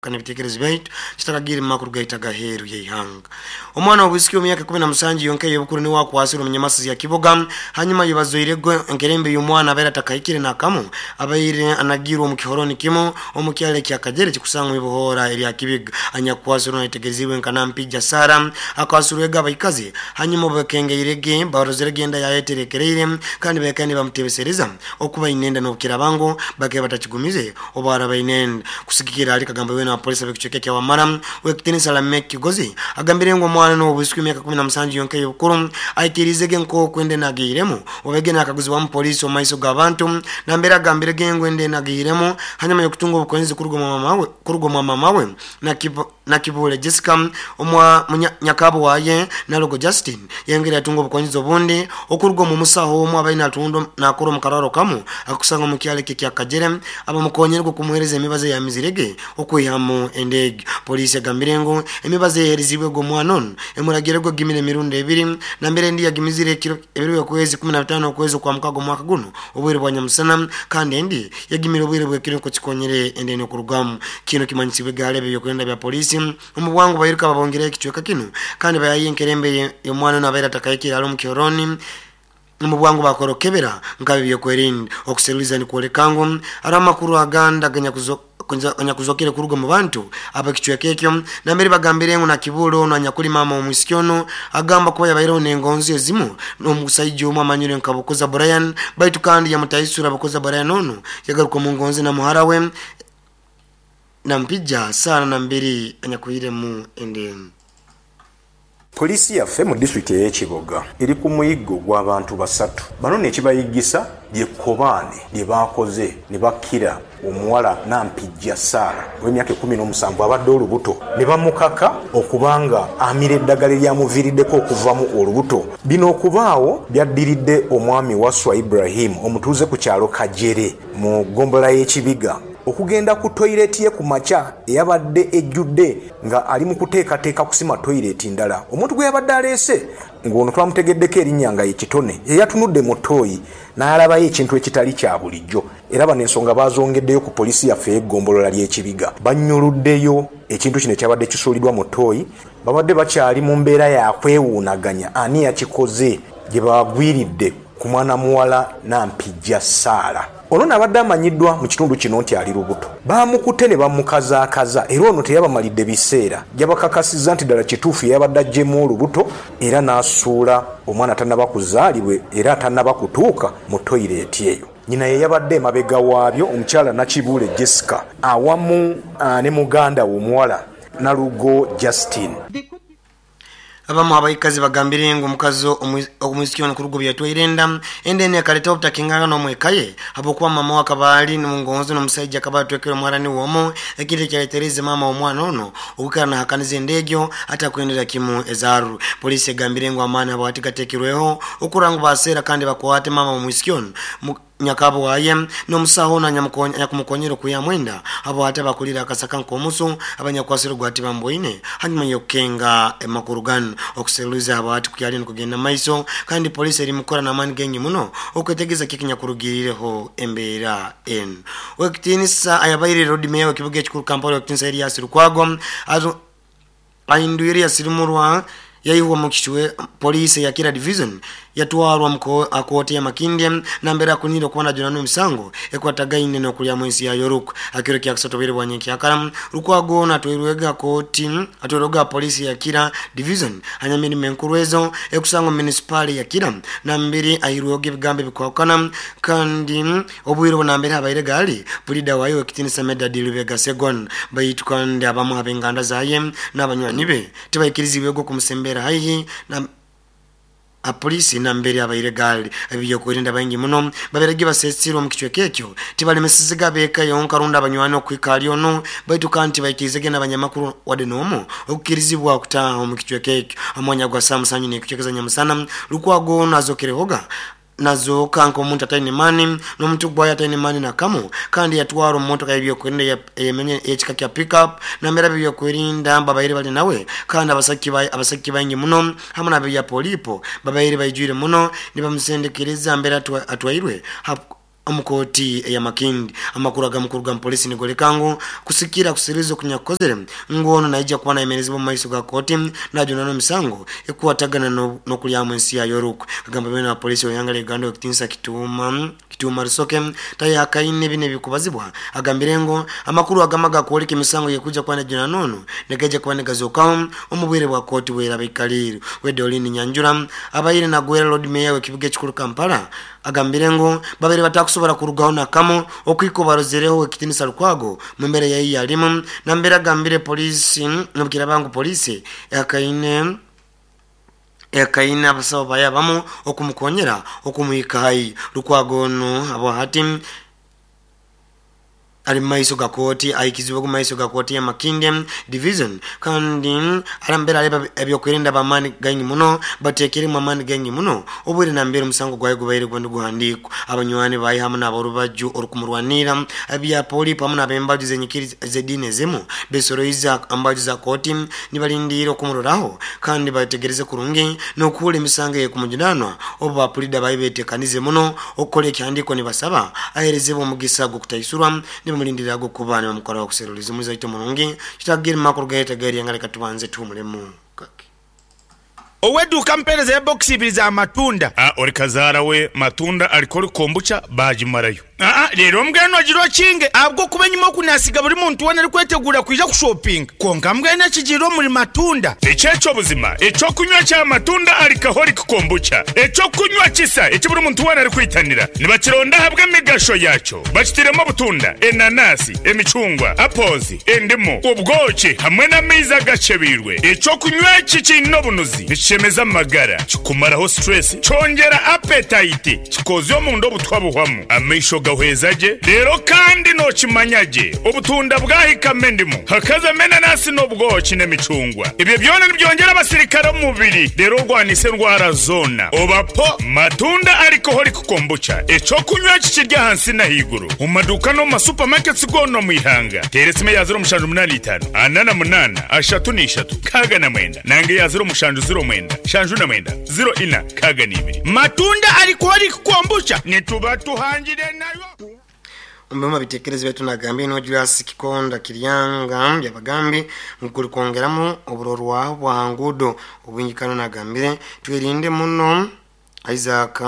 Kandi ebitekerezo byaitu tutakagiire mu makuru gaitu ag'aheeru y'eihanga. Omwana w'obwisiki w'emyaka 17 yonka ey'obukuru niwe akwasirwe omu nyamasizi ya Kiboga hanyuma y'obazoiregwe enkerembe y'omwana abaire atakahikire n'akamu abaire anagirwe omu kihoroni kimu omu kyaro ekya Kajere ekikusangwa omu ibohoora erya Kibiga. Anyakukwasirwe nayetegerezibwe nka Nampijja Sarah akwasirwege abaikazi hanyuma obu bakengeirege barozerege enda yaye eterekereire kandi baikaire nibamutebesereza okuba aine enda n'obukiraaba ngu bakaba batakigumize Obu araba aine enda. Kusigikirra ahari Kagamba weena wa polisi ab'ekicweka ekya Wamala, Ow'ekitinisa Lameck Kigozi, agambire ngu omwana n'ow'obwisiki w'emyaka 17 yonka ey'obukuru aikiriizege nk'oku enda enu agiihiremu obu ege naakaguzibwamu polisi omu maiso g'abantu nambere agambirege ngu enda enu agiihiremu hanyuma y'okutunga obukonyezi kuruga omwa maama we Nakibuule Jessica, omwa munyakaabo waaye Nalogo Justine yayongera yatunga obukonyezi obundi okuruga omu musaho omu abaire natunda nakora omu karwaro kamu akakusanga omu kyaro eki ekya Kajere abamukonyerwe okumuhereza emibazi eyamizirege okwihamu enda egyo. Poliisi egambire ngu emibazi eyeherizibwe gu omwana onu emuragirege ogimira emirundi ebiri nambere endi yagimizire ekiro ebiro byokwezi 15 okwezi okwa mukaga omwaka gunu obwire bwa nyamusana kandi endi Yagimire obwire bw'ekiro nukwo kikonyere enda enu okurugamu. Kinu kimanyisibwe egaali eb'ebyokwerinda bya poliisi. Omu bwangu bairuka babongereho ekicweka kinu kandi bayayo enkerembe y'omwana onu abaire atakahikire hali omu kihoroni. Omu bwangu bakora okukebera nk'ab'ebyokwerinda. Okuseruliza nikwoleka ngu haroho amakuru agandi aganyakuzokere kuruga omu bantu ab'ekicweka ekyo nambere bagambire ngu Nakibuule onu anyakuli maama w'omwisiki onu agamba kuba yabaireho n'engonzi ezimu N'omusaija omu amanyirwe nka Bukoza Brian baitu kandi yamutaisura Bukoza Brian onu yagaruka omu ngonzi na muhara we Nampija Sarah Nambiri anyakuhiremu ende. Poliisi yaffe mu disitulikiti ey'e Kiboga eri ku muyiggo gw'abantu basatu. Bano n'ekibayigisa lye kkobaane lye baakoze ni bakira Omuwala Nampijja Sarah ow'emyaka 17 abadde olubuto ne bamukaka okuba nga amira eddagala eryamuviiriddeko okuvamu olubuto. Bino okubaawo byaddiridde Omwami Wasswa Ibrahim omutuuze ku kyalo Kajere mu ggombolola y'e Kibiga okugenda ku toyireti ye ku makya eyabadde ejjudde nga ali mu kuteekateeka kusima toyireti ndala omuntu gwe yabadde aleese ng'ono twamutegeddeko erinnya nga ye Kitone eyatunudde mu ttooyi n'alabayo ekintu ekitali kya bulijjo. Era bano ensonga baazongeddeyo ku poliisi yaffe ey'eggombolola ly'e Kibiga. Bannyuluddeyo ekintu kino ekyabadde kisuulidwa mu ttooyi. Babadde bakyali mu mbeera ya kwewuunaganya ani yakikoze gye baagwiridde ku mwana muwala Nampijja Sarah. Ono no abadde amanyiddwa mu kitundu kino nti ali lubuto. Baamukute ne bamukazaakaza era ono teyabamalidde biseera yabakakasizza nti ddala kituufu ye yabadde aggyemu olubuto era n'asuula omwana atannaba kuzaalibwa era atannaba kutuuka mu toyireeti eyo. Nyina ye yabadde emabega waabyo, omukyala Nakibuule Jessica awamu ne muganda we omuwala Nalugo Justine. Abamu abaikazi bagambire ngu omukazi omwisiki ono kuruga obu yatwaire enda, enda enu ekaletaho obutakingangana omu eka ye habwokuba maama we akaba ali mungonzi n'omusaija akaba atwekere omuhara niwe omu, ekintu ekyaleteriize maama w'omwana onu okwikara nahakaniza enda egyo atakwendera kimu ezaarwe. Poliisi egambire ngu amaani habwati gatekirweho okurora ngu baseera kandi bakwate maama w'omwisiki onu, nyakabo waye, n'omusaho onu anyakumukonyera okwihamu enda habwati abakulire akasaka nk'omusu abanyakwasire ogwati bamboine hanyuma y'okukenga amakuru ganu. Okuseruliza habwati kukyali nikugenda mumaiso kandi poliisi eri mukukora n'amaani gaingi muno okwetegereza kiki ekinyakurugirireho embeera enu. Ow'ekitiinisa ayabaire Lord Mayor w'ekibuga ekikuru Kampala Ow'ekitiinisa Erias Lukwago ahindwire yasirimurwa yaihwa omu kicwe poliisi eya Kira Division yatwarwa omu kooti ya Makindye nambere akunire okuba najunanwa emisango ekwatagaine n'okulyamu ensi ya Yoruk. Akiro kyakusatu obwire bwa nyenkyakara, Lukwago ono atwairwega kooti atwairwega poliisi ya Kira Division hanyuma emirimo enkuru ezo ekusangwa omu munisipaali ya Kira nambere ahairwehoga ebigambo ebikwahukana kandi Obwire obu nambere habaire gaali, puliida waayo ow'ekitiinisa Medard Lubega Sseggona. Baitu kandi abamu hab'enganda zaye n'abanywani be tibaikirizibwege okumusemberra haihi na apoliisi nambere habaire gaali. Ab'ebyokwerinda baingi muno babairege basesirwe omu kicweka ekyo tibalemesezege ab'eka yonka rundi abanywani okuhika hali onu baitu kandi tibaikirizege n'abanyamakuru wadde n'omu okukirizibwa kutaaha omu kicweka ekyo. Omwanya gwa saaha musanju n'ekicweka za nyamusana, Lukwago onu azokerehoga Nazooka nk'omuntu ataine maani, n'omutwe gwayo ataine maani na kamu, kandi yatwarwa omu motoka y'ebyokwerinda ey'ekika kya pick-up, nambere ab'ebyokwerinda babaire bali nawe, kandi abasagiki baingi muno hamu n'ab'ebya poliipo babaire baijwire muno nibamusendekereza mbere atwairwe. Omu kooti eya Makindye, amakuru agamu kuruga omu poliisi nigoreka ngu kusikira kusiriiza okunyakukozire ngu onu naija kuba nayemerezibwa omu maiso ga kooti najunanwa emisango ekukwatagana nokuryamu ensi yayo orukwe. Agamba beene wa poliisi ow'eihanga rya Uganda Owekitinisa Kituuma Kituuma Rusoke tayehakaine binu ebikubazibwa agambire ngu amakuru agamu agakworeka emisango eyekuija kuba nejunanwa onu nigaija kuba nigazookaho omu bwire bwa kooti bweraba eikariire. We Doreen Nyanjura abaire nagwera Lord Mayor w'ekibuga ekikuru Kampala Agambire ngu babaire batakusobora kurugaho nakamu okuhika obarozereho Owekitinisa Lukwago mumbera eyayi yalimu nambere agambire poliisi nobukiraba ngu poliisi ehakaine ehakaine abasawo bayo abamu okumukonyera okumuhika haihi. Lukwago onu habwahati Ali mumaiso ga kooti ahikizibwe omu maiso ga kooti ya Makindye Division kandi arambere areba ebyokwerinda b'amaani gaingi muno bateekeremu amaani gaingi muno obwire nambere omusango gwaye gubaire guba niguhandiikwa. Abanywani baye hamu n'aborubaju orukumurwanirra ebya Polipo hamu n'abembaju z'enyikiriza z'ediini ezimu besoroize aha mbaju za kooti nibalindiire okumuroraho kandi bayetegereze kurungi n'okuhurra emisango ey'ekumujunaanwa obu ba pulida baye betekanize muno Okukora ekihandiiko nibasaba aheerezebwe omugisa gw'okutaisurwa, nibamulindirira ag'okuba nibamukoraho okuseruliza omulizi waitu omurungi. Kitagirima kuruga haitu ag'eryanga leka tubanze tuhumulemu kake. Ow'eduuka ampeereza ya bokisi ibiri za matunda. A Ori kazaara we matunda alcoholic kombucha baagimarayo. Aa Reero mbwenu ogire okinge ahabw'okuba enyima oku naasiga buri muntu weena arikweteguura kwija kushopinga. Kwonka mbwenu ekigiire omuri matunda. Eki eky'obuzima, eky'okunywa kya matunda alcoholic kombucha, eky'okunywa kisa eki buri muntu weena arikwitanira. Nibakironda ahabw'emigasho yaakyo. Bakitairemu obutunda, enanasi, emicungwa, apples, endimu, obwoki hamwe n'amaizi agakyebeirwe. Eky'okunywa eki kiine obunuzi, nikishemeza amagara, kikumaraho stress, kyongyera appetite, Kikoozya omunda obutwa buhwamu, amaisho gahweza gye, reero kandi nookimanya gye obutunda bwahikamu endimu, hakazamu enanasi n'obwoki n'emicungwa. Ebyo byona nibyongyera abasirikare omu mubiri reero orwanise endwara zoona. Oba po Matunda Alcoholic Kombucha, eky'okunywa eki kiri ahansi n'ahaiguru omu maduuka n'omu ma supermarkets goona omu ihanga. Teera esimu eya 0785 48 33 69 nanga eya 0709 79 04 62. Matunda alcoholic kombucha nituba tuhangire nayo. Omu bimwe bitekerezo byaitu nagambire niwe Julius Kikonda Kiryanga Byabagambi ngu kuri kwongeramu oburorwaho bwa nguudo obwingi kandi nagambire twerinde muno Isaac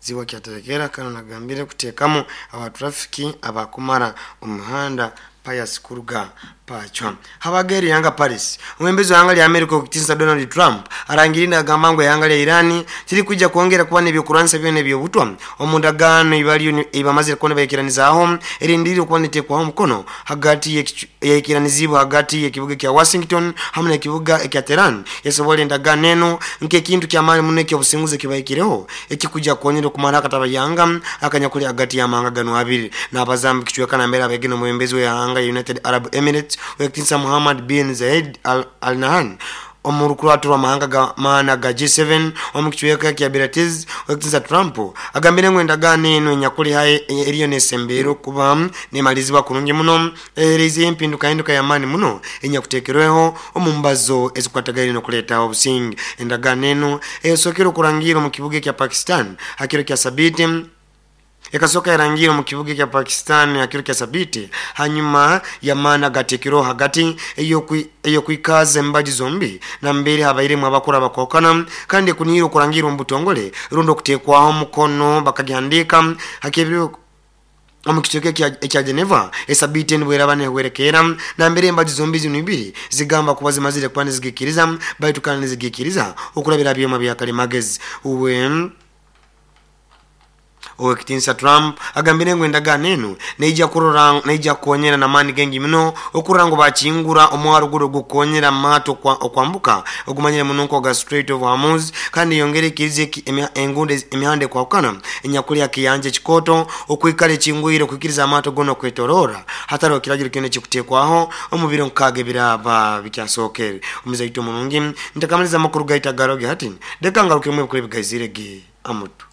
Zibwa Kyaterekera kandi nagambire kuteekamu aba traffic abakumara omu mihanda Pius Kuruga Pacwa. Habaga erihanga Paris, omwebembezi w'eihanga rya America ow'ekitiinisa Donald Trump arangiriire nagamba ngu eihanga rya Iran tirikwija kwongyera kuba n'ebyokurwanisa byona eby'obutwa omu ndagaano ei bariyo ei bamazire kuba nibaikiranizaho erindiriire okuba neteekwaho omukono hagati eyaikiranizibwe hagati y'ekibuga ekya Washington hamwe n'ekibuga ekya Tehran yasoboora endagaano enu nk'ekintu ky'amaani muno eky'obusinguzi ekibahikireho ekikwija kukonyera okumaraho akatabayanga akanyakuli hagati y'amahanga ganu abiri. Nabaza omu kicweka nambere abaige n'omwebembezi w'ihanga lya United Arab Emirates ow'ekitinisa Muhammad bin Zayed Al Nahyan omu rukurato rw'amahanga g'amaani aga G7 omu kicweka ekya Biarritz. Ow'ekitinisa Trump agambire ngu endagaano enu enyakuli haihi eriyo nesemberera okuba nemalirizibwa kurungi muno ehereizeyo empindukahinduka y'amaani muno enyakuteekerweho omu mbazo ezikukwatagaine n'okuleetaho obusinge. Endagaano enu eyasookere okurangiirwa omu kibuga ekya Pakistan ha kiro kya Sabiiti, ekasooka yarangiirwa omu kibuga ekya Pakistan ha kiro kya Sabiiti hanyuma y'amaani agateekerweho hagati ey'okwikaaza embaju zombi nambere habairemu abakuru abakwahukana kandi ekuniirwe okurangiirwa omu butongole rundi okuteekwaho omukono bakagihandiika ha kebiro Omu kicweka ekya Geneva, esabiiti enu bweraba nehwerekerra, nambere embaju zombi zinu ibiri zigamba kuba zimazire kuba nizigikiriza, baitu kandi nizigikiriza okurabira ha byoma bya kalimagezi. Uwe Owekitinisa Trump agambire ngu endagaano enu neija kurora neija kukonyera namaani gaingi muno okurora ngu bakingura omwaro guru ogukukonyera amaato okwambuka ogumanyire muno nkoga Strait of Hormuz kandi eyongere ekirize enguudo emihanda ekwahukana enyakuli ha kiyanja ekikooto okwikara ekingwire okwikiriza amaato goona okwetoroora hataroho kiragiro kyona ekikuteekwaho omu biro nkaaga ebiraaba bikyasookere. Omuzaito omurungi, ntakamaliza amakuru gaitu agaroge hati, leka ngarukemu ebikuru ebigaizire ge amutwe.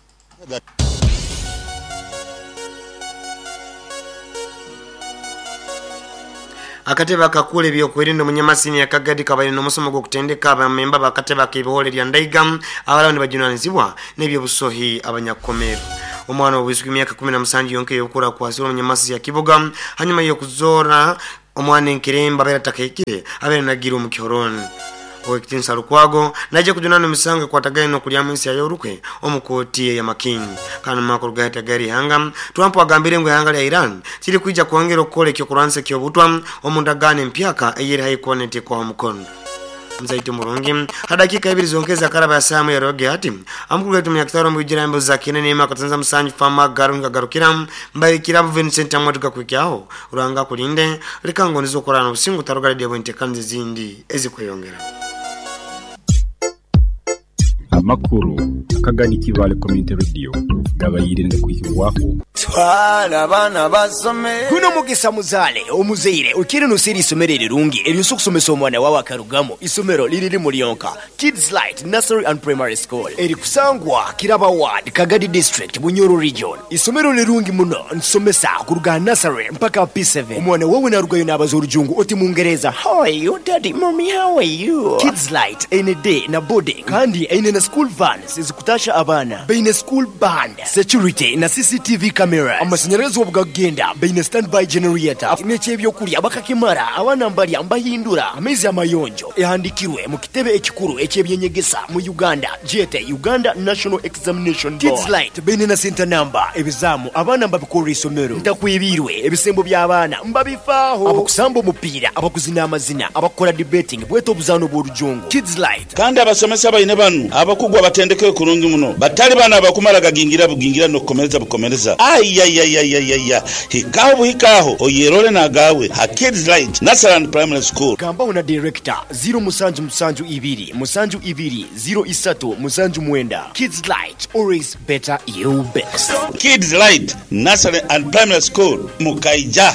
Akatebe akakuura ebyokwerinda omu Nyamasini ya Kagadi kabaire n'omusomo gw'okutendeka abamemba b'akatebe ak'ebihooro erya Ndaiga abaraba nibajunanizibwa n'ebyobusohi abanyakukomerwa. Omwana w'obwisiki w'emyaka 17 yonka ey'obukuru akwasirwe omu Nyamasisi ya Kiboga hanyuma y'okuzoora omwana enkerembe abaire atakahikire abaire nagiire omu kihorooni. Ow'ekitinisa Lukwago naija kujunanwa emisango ekwatagaine n'okulyamu ensi yayo orukwe omu kooti eya Makindye. Kandi omu makuru gahati ag'eri ihanga, Trump agambire ngu ihanga lya Iran tirikwija kwongera okukora eky'okurwanisa eky'obutwa omu ndagaano empyaka eyeri haihi kuba netekwaho omukono. Muzaitu murungi, ha dakiika ibiri zonka ezakaraba ya saaha emwe yaroge hati, amakuru gaitu Munyakitara omu Bwijira Embuzi za Kiine Neema Katanza Musanju Fama Garu Nkagarukira Mbaire Kirabo Vincent Amwati Gakuhikyaho Ruhanga akulinde, leka ngondeze okurara nobusinge otaruga Radio bwentekaniza ezindi ezikweyongera. Amakuru akagani Kibaale Community Radio gabaire nigakwihibwaho. Twala abaana basome. Guno mugisa muzaale omuzaire okiire noseera eisomero erirungi eryosa okusomesa omwana wawe akarugamu. Isomero liri limu lyonka, Kids Light Nursery and Primary School erikusangwa Kiraba Ward, Kagadi District, Bunyoro Region. Isomero lirungi muno, nitusomesa kuruga aha nursery mpaka aha P7. Omwana wawe narugayo nabaza orujungu oti mungereza, How are you daddy, mummy how are you? Kids Light eine day na boarding kandi eine na school vans ezikutasha abaana. Baine school band, security na CCTV cameras. Amashanyarazi obu gakugenda baine standby generator. N'eky'ebyokurya bakakimara, abaana mbarya mbahindura amaizi amayonjo. Ehandikirwe mu kitebe ekikuru eky'ebyenyegesa mu Uganda gyete Uganda National Examination Board. Kids Light baine na center number, ebizaamu abaana mbabikorera isomero. Ntakwebiirwe, ebisembo by'abaana mbabifaaho. Abakusamba omupiira, abakuzina amazina, abakukora debating bwete obuzaano bw'orujungu. Kids Light. Kandi abasomesa baine banu abakugu abatendekere kurungi muno, batali bano abakumara gagingira bugingira n'okukomereza bukomereza. Ayayayayaya! Hikaho buhika agho oyerole n'agaawe ha Kids Light Nursery and Primary School. Gambaho na Director, ziro musanju musanju ibiri musanju ibiri ziro isatu musanju mwenda. Kids Light, always better you best. Kids Light Nursery and Primary School, Mukaija.